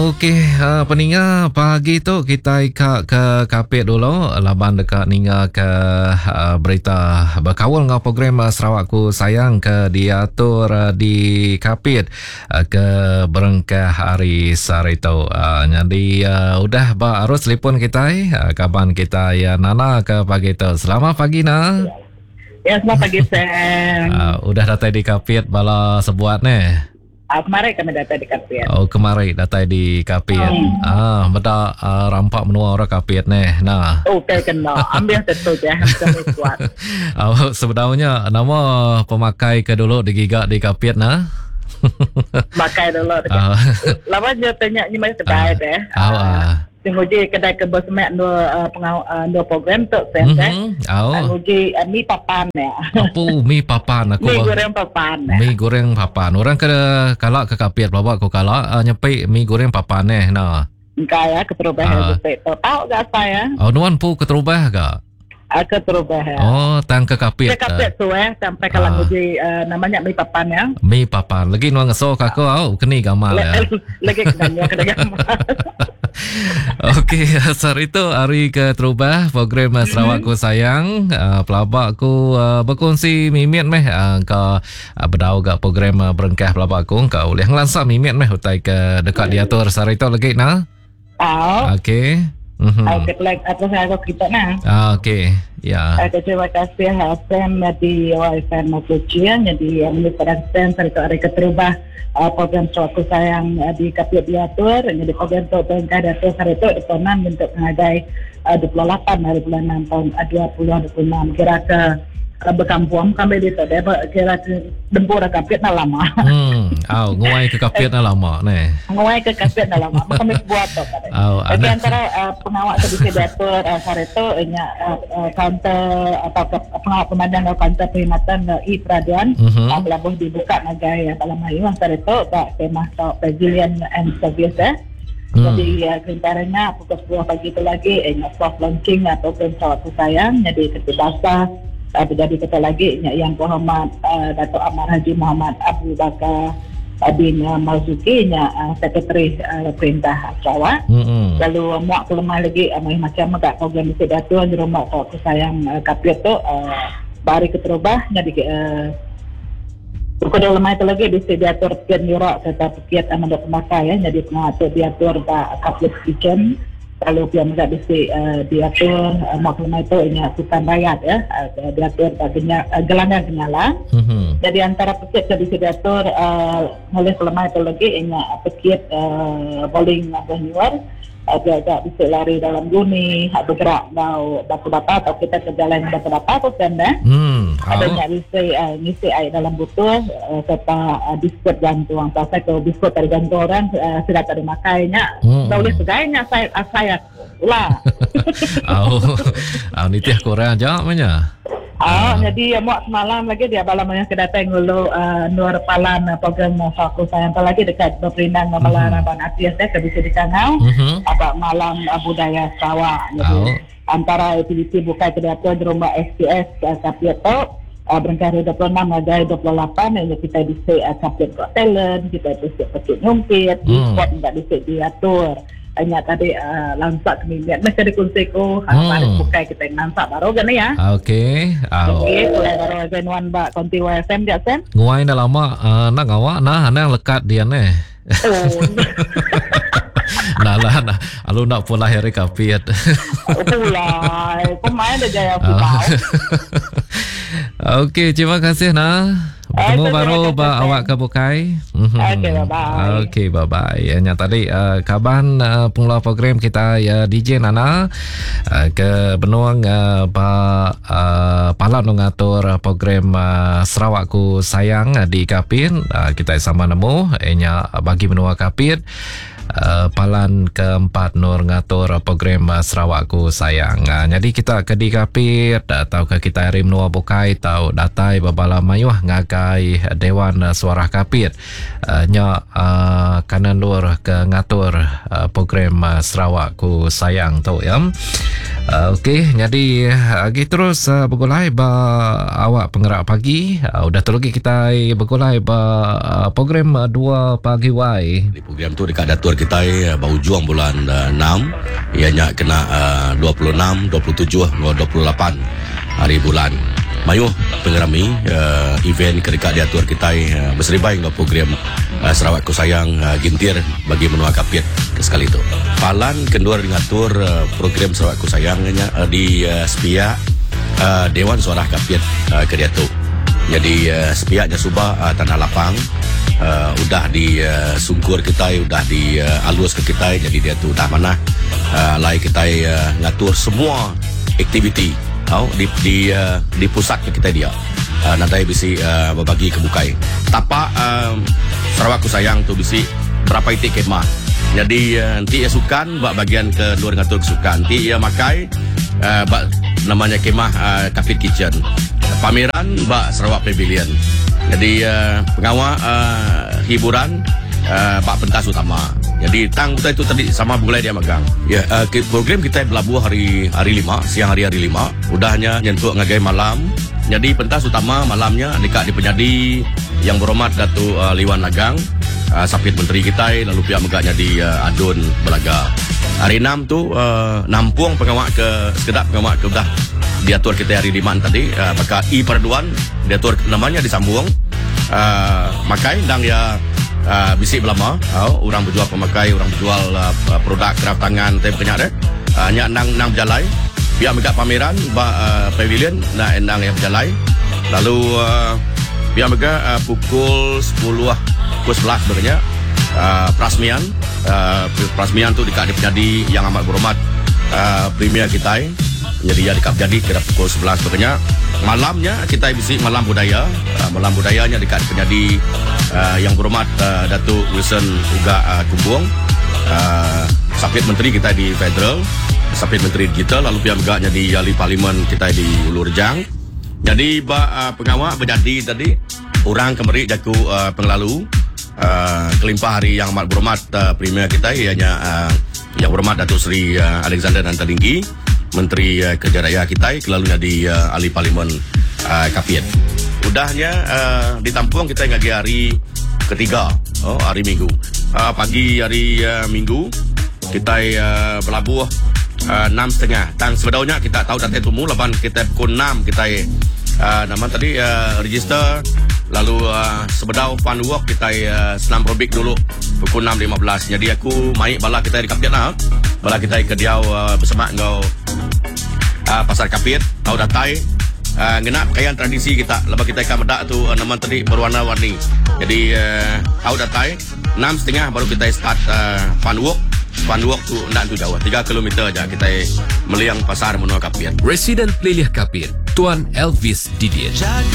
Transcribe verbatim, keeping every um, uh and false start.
Okey, uh, peninga pagi tu kita ka ke Kapit dulu laban dekat ninga ke uh, berita berkaul dengan program uh, Sarawakku Sayang ke diatur uh, di Kapit uh, ke berengkah hari Sarito. Uh, jadi uh, udah ba arus telefon kita uh, kaban kita ya Nana ke pagi tu. Selamat pagi Na. Ya, selamat pagi Sam. Uh, udah datang di Kapit bala sebuat ne. Ah, kemarin kami datang di Kapit. Oh, kemarin datang di Kapit. Hmm. Ah, beda uh, rampak menua orang Kapit ne. Nah. Okey kena. Ambil tentu je kami kuat. Oh, sebenarnya nama pemakai ke dulu digigak di Kapit nah. Makai dulu. Uh. Lama je tanya ni mai kedai deh. Ah. Uh. Tengok kedai ke bersemak dua uh, pengau uh, dua program tu sen mm-hmm. Oh. Nguji uh, mi papan ya. Apa mi papan aku? Mi goreng papan. Mi goreng papan. Orang ke kalak ke Kapit bawa aku kalak uh, nyepi mi goreng papan eh nah. Engkau ya keterubah uh. tu. Tahu gak saya? Oh, nuan pu keterubah gak? Uh, keterubah ya. Oh, tang ke Kapit. Ke Kapit tu eh sampai kalau nguji uh, namanya mi papan ya. Mi papan. Lagi nuan ngeso ke aku au keni gamal ya. Lagi kena kena gamal. Okey, hari itu hari keterubah program Sarawakku Sayang. Uh, pelabak aku uh, berkongsi mimit meh uh, ke uh, bedau gak program uh, berengkah pelabak aku ke boleh ngelansak mimit meh utai ke dekat diatur hari itu lagi nah. Oh. Okey. Mm-hmm. Okey, like atas aku kita nah. Ah, okey. Ya. Okay, terima kasih Sam di Y F M Kuching jadi pada Sam hari itu hari keterubah uh, program Sarawakku Sayang uh, di Kapit diatur jadi program tu berengkah diatur hari itu di enam untuk mengadai uh, dua puluh lapan hari bulan enam tahun uh, dua ribu dua puluh enam kira ke uh, berkampung kami di tu kira ke dempur Kapit na lama. Hmm, au nguai ke Kapit na lama ne. Nguai ke Kapit na lama. Kami buat tu. Au, jadi antara uh, pengawal tu bisa diatur uh, hari itu nya uh, uh, kaunter atau ke, pengawal pemandang atau kaunter perkhidmatan uh, e-peraduan mm-hmm. uh, belabuh dibuka ngagai uh, dalam hari hari itu bak tema tau Pavilion and Service eh. Hmm. Jadi uh, kerentaranya pukul sepuluh pagi itu lagi eh, soft launching atau program Sarawakku Sayang jadi ketibasa uh, terjadi kata lagi yang berhormat uh, Datuk Amar Haji Muhammad Abu Bakar bin uh, Marzuki nya uh, Sekretari uh, Perintah Sarawak. Mm-hmm. Lalu uh, muak kelemah lagi uh, macam agak program bisa diatur di rumah Sarawakku Sayang uh, Kapit tu uh, bari keterubah jadi uh, pukul dua lemah itu lagi bisa diatur piat nyurak serta piat amanda pemakai ya jadi pengatur diatur ba Kapit Kitchen. Lalu pihak mereka bisa uh, diatur uh, maklumat itu ini sultan rakyat ya uh, diatur baginya uh, gelanggang kenyalang. Mm-hmm. Jadi antara pekit yang bisa diatur uh, oleh kelemahan itu lagi ini pekit uh, bowling atau nyuar uh, dia agak bisa lari dalam guni bergerak mau batu bata atau kita ke jalan batu bata atau senda. Mm. Ada yang bisa uh, ngisi air dalam botol uh, serta uh, biskut gantung. Pasal kalau biskut dari gantung orang uh, sudah tak dimakainya. Mm. Tak boleh segainya saya saya lah. Oh, oh nitih kurang aja maknya. Ah, uh, jadi muak semalam lagi dia balam yang kedatang ngulu uh, Nur Palan uh, program Sarawakku Sayang lagi dekat berperindang mm-hmm. malam Raban Atis eh bisa dikangau mm-hmm. apa malam uh, budaya Sarawak. Jadi oh. antara aktiviti bukai kedatangan di rumah S P S uh, Kapit tu uh, berangkat hari dua puluh enam hingga dua puluh lapan yang kita bisa uh, Kapit Got Talent, kita bisa pekit nyumpit, mm. sport enggak bisa diatur. Hanya tadi uh, lansak kemimian mesti dikongsi ko hmm. hari bukai kita yang lansak baru kan ya. Okey. Okey, boleh baru Zenuan bak konti Y F M dia sen. Nguai dah lama uh, nak ngawak nah anang lekat dia ne. Oh. Nah lah nah alu nak pula hari Kapit. Oh pula. Pemain dah jaya aku. Okey, terima kasih nah. Bertemu eh, baru ba awak ke bukai. Mm-hmm. Okey, bye-bye. Okey, bye-bye. Ya, yang tadi uh, kaban uh, pengelola program kita ya D J Nana uh, ke Benuang uh, ba uh, Palan mengatur program uh, Sarawakku Sayang uh, di Kapit. Uh, kita sama nemu nya bagi menua Kapit. Uh, palan keempat Nur ngatur program uh, Sarawakku Sayang. Uh, jadi kita ke di Kapit atau ke kita hari menua bukai tau datai babala mayuh ngagai Dewan uh, Suara Kapit. Uh, nya uh, kanan lur ke ngatur uh, program uh, Sarawakku Sayang tu ya. Uh, Okey, jadi lagi terus uh, bergulai ba awak penggerak pagi. Uh, udah tu lagi kita bergulai ba uh, program uh, dua pagi Y. Di program tu dekat datur kita uh, berujung bulan uh, enam, ianya kena uh, dua puluh enam, dua puluh tujuh, dua puluh lapan hari bulan. Mayuh pengerami uh, event kedekat diatur kita uh, berseribai dengan program uh, Sarawak Ku Sayang uh, Gintir bagi menua Kapit ke sekali tu. Palan kendur ngatur uh, program Sarawak Ku Sayang nya uh, di uh, sepiak uh, Dewan Suarah Kapit uh, ke diatu. Jadi uh, sepiaknya subah uh, tanah lapang uh, udah di uh, sungkur kita, udah di uh, alus ke kita, jadi dia tu dah mana uh, lai kita uh, ngatur semua aktiviti oh, di, di, uh, di pusat ke kita dia. Uh, nanti bisi uh, berbagi kebukai. Tapak uh, Sarawak Ku Sayang tu bisi berapa itik kemah. Jadi uh, nanti ia sukan buat bagian ke luar ngatur kesukan. Nanti ia makai uh, buat namanya kemah uh, Kapit Kitchen. Pameran buat Sarawak Pavilion. Jadi uh, pengawal uh, hiburan uh, bak pentas utama. Jadi tang kita itu tadi sama bulai dia magang. Ya, uh, program kita berlabuh hari hari lima, siang hari hari lima. Udahnya nyentuh ngagai malam. Jadi pentas utama malamnya dekat di penyadi yang berhormat Datuk uh, Liwan Lagang, uh, sapit menteri kita, lalu pihak megaknya di uh, Adun Belaga. Hari enam tu uh, nampung pengawak ke sekedap pengawak ke dah diatur kita hari lima tadi, uh, maka i perduan diatur namanya disambung. Uh, makai dang ya Uh, bisik belama, uh, orang berjual pemakai, orang berjual uh, produk kraft tangan, tem kenyak deh. Uh, nyak nang nang berjalai. Pihak megak pameran ba uh, pavilion nak nang yang berjalai. Lalu uh, pihak megak uh, pukul sepuluh, pukul sebelas sebenarnya uh, perasmian, uh, perasmian tu dekat di penyadi yang amat berhormat uh, Premier kita. Jadi ya dekat jadi kira pukul sebelas sebenarnya. Malamnya kita bisik malam budaya. Uh, malam budayanya dekat penyadi uh, yang berhormat uh, Datuk Wilson Uga uh, Kumbong, uh, sapit menteri kita di federal, sapit menteri digital, lalu pihak megaknya di ahli parlimen kita di Ulu Rejang. Jadi ba, uh, pengawal berjadi tadi orang kemeri jaku uh, penglalu uh, kelimpah hari yang amat berhormat uh, Premier kita ianya uh, yang berhormat Datuk Seri uh, Alexander Nanta Linggi, Menteri uh, Kerja Raya kita, kelalunya di uh, ahli parlimen uh, Kapit. Udahnya uh, ditampung kita ngagi hari ketiga, oh, hari Minggu. Uh, pagi hari uh, Minggu kita uh, berlabuh uh, enam setengah. Tang sebedaunya kita tahu datang tumu laban kita pukul enam kita uh, nama tadi uh, register, lalu uh, sebedau fun walk kita uh, senam aerobik dulu pukul enam lima belas. Jadi aku mai bala kita di Kapit lah. Bala kita ke diau uh, bersama ngau uh, pasar Kapit, tahu datai uh, ngena pakaian tradisi kita. Lepas kita ikan medak tu uh, nama tadi berwarna-warni. Jadi uh, tahu datai enam setengah baru kita start uh, fun walk. Fun walk tu nak tu jauh tiga kilometer aja kita meliang pasar menua Kapit. Residen Pelilih Kapit, Tuan Elvis Didiet.